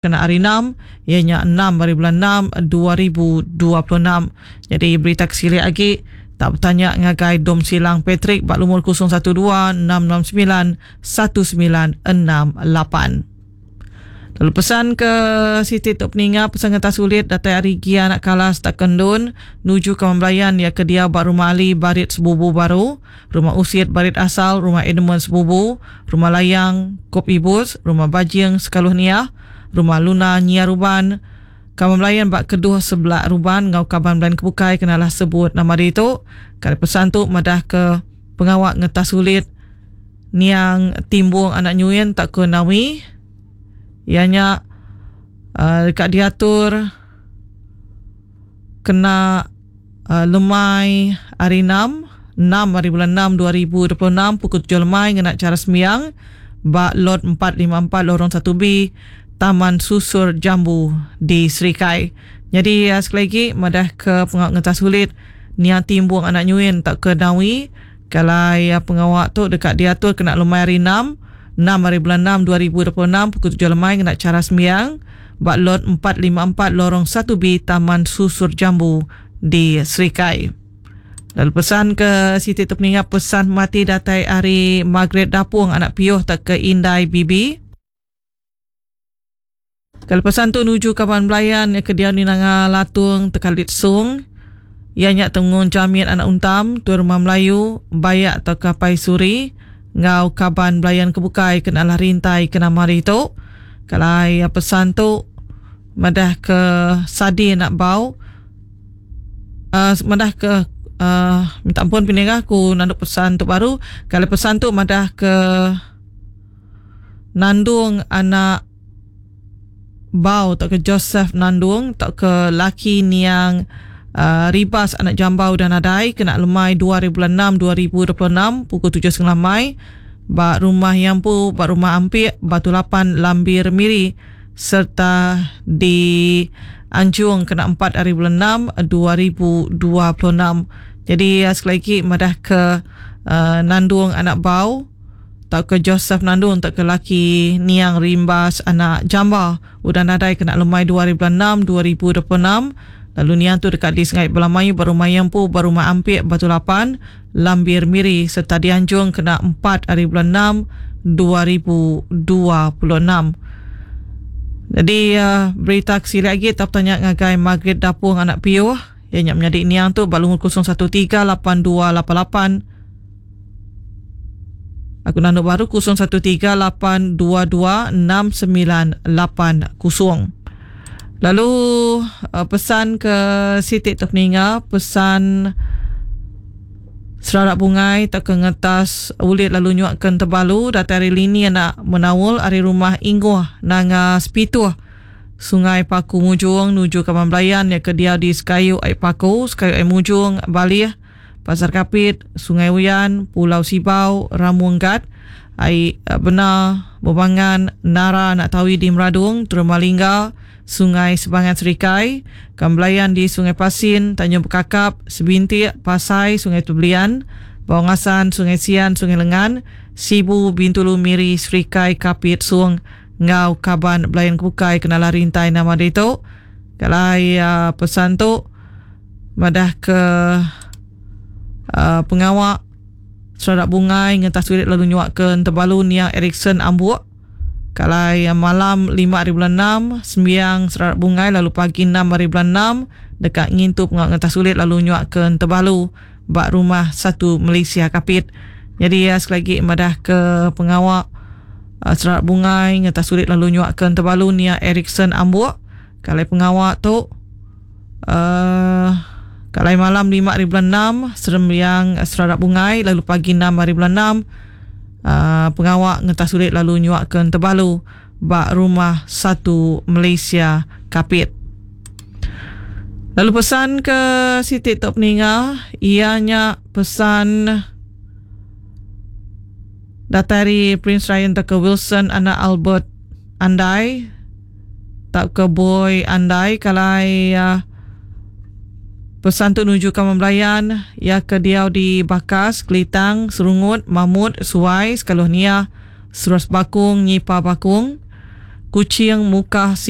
Kena hari enam, iya nya enam hari bulan enam 2026. Nyadi berita ke silik agi, tau betanya ngagai Dom Silang Patrick ba lumur 012 669 1968. Lalu pesan ke siti tu peninga pesan ngentas ulit datai ari Gia anak Kalas tak Kendun nuju Kaman Belayan iya ke diau ba Rumah Ali Barit Sebubu Baru, Rumah Usit Barit Asal, Rumah Edmund Sebubu, Rumah Layang, Kop Ibus, Rumah Bajing Sekaluh Niah, Rumah Luna Nyia Ruban, Kaban Belayan ba Keduh Sebelak Ruban enggau kaban belayan ke bukai ke nalah sebut nama ditu. Kali pesan tu madahka pengawa ngetas ulit niang Timbong anak Nyuin tauka Nawi iya nya deka diatur kena lemai hari enam, enam hari bulan enam 2026 pukul tujuh lemai ngena chara sembiang ba Lot 454 Lorong 1B Taman Susur Jambu di Serikai. Nyadi sekali agi madah ke pengawa ngentas ulit niang Timbong anak Nyuin tauka Nawi ke alai pengawa tu deka diatur kena lemai hari enam, enam hari bulan enam 2026 pukul tujuh lemai ngena chara sembiang ba Lot 454 Lorong 1B Taman Susur Jambu di Serikai. Lalu pesan ke siti tu peninga pesan mati datai ari Margaret Dapung anak Piuh tauka Indai Bibi. Kalau pesan tu nuju kaban belayan ke diau di Nanga Latung Tekalit Sung iya nya Tengung Jamit anak Untam Tuai Rumah Melayu Bayak tauka Pai Suri enggau kaban belayan ke bukai ke nalah rintai ke nama hari tu. Kalai pesan tu madah ke Sadi anak Bau uh, madah ke uh, minta ampun peningah aku nandu pesan tu baru. Kalai pesan tu madah ke Nandung anak Bau tauka Joseph Nandung tauka laki niang uh, Ribas anak Jambau udah nadai kena lemai 2 hari bulan 6 2026 pukul 7.30 lemai ba rumah Yampu ba rumah Ampik Batu Lapan Lambir Miri serta di Anjung kena 4 hari bulan 6 2026. Jadi uh, sekali lagi madah ke uh, Nandung anak Bau tauka Joseph Nandung tauka laki niang Rimbas anak Jamba udah nadai kena lemai dua hari bulan enam 2026 lalu niang tu deka disengai bala mayuh ba rumah iya empu ba Rumah Ampik Batu Lapan, Lambir Miri sereta dianjung kena empat hari bulan enam 2026. Jadi berita ke silik agi tau betanya ngagai Margaret Dapung anak Piuh iya nya menyadi niang tu ba lumur 013 8288 Aku nandu baru 0138226980. Lalu uh, pesan ke siti tu peninga pesan serarak bungai tauka ke ngetas ulit lalu nyuak ke tebalu datai ari lini anak menaul ari rumah Inguh Nanga Sepituh Sungai Paku Mujung nuju Kaban Belayan ya ke diau di Sekayu Ai Paku Sekayu Ai Mujung Balih Pasar Kapit, Sungai Uyan, Pulau Sibau, Ramung Gat, Ai Bena, Bebangan, Nara anak Tawi di Meradung, Teruma Lingga, Sungai Sebangan Serikai, Kambelayan di Sungai Pasin, Tanjung Bekakap, Sebintik, Pasai, Sungai Tebelian, Bawang Assan, Sungai Sian, Sungai Lengan, Sibu, Bintulu, Miri, Serikai, Kapit, Sung enggau kaban belayan ke bukai ke nalah rintai nama ditu. Kalai pesan tu madah ke uh, pengawa seradak bungai ngentas ulit lalu nyuak ke Entebalu niang Erikson Ambuk kalai malam 5 hari bulan 6 sembiang seradak bungai lalu pagi 6 hari bulan 6 deka ngintu pengawa ngentas ulit lalu nyuak ke Entebalu ba rumah satu Malaysia Kapit. Jadi ya, sekali lagi madah ke pengawa uh, seradak bungai ngentas ulit lalu nyuak ke Entebalu niang Erikson Ambuk kalai pengawa tu Uh, kalai malam 5 hari bulan 6 serembiang seradak bungai lalu pagi 6 hari bulan 6 uh, pengawa ngentas ulit lalu nyuak ke Entebalu ba rumah satu Malaysia Kapit. Lalu pesan ke siti tok peninga iya nya pesan datai ari Prince Ryan tauka Wilson anak Albert Andai tauka Boy Andai kalai pesan tu nuju Kaman Belayan iya ke diau di Bakas, Kelitang, Serungut, Mamut, Suai, Sekaluh Niah, Seros Bakung, Nyipa Bakung. Kuching, Mukah, Sibu.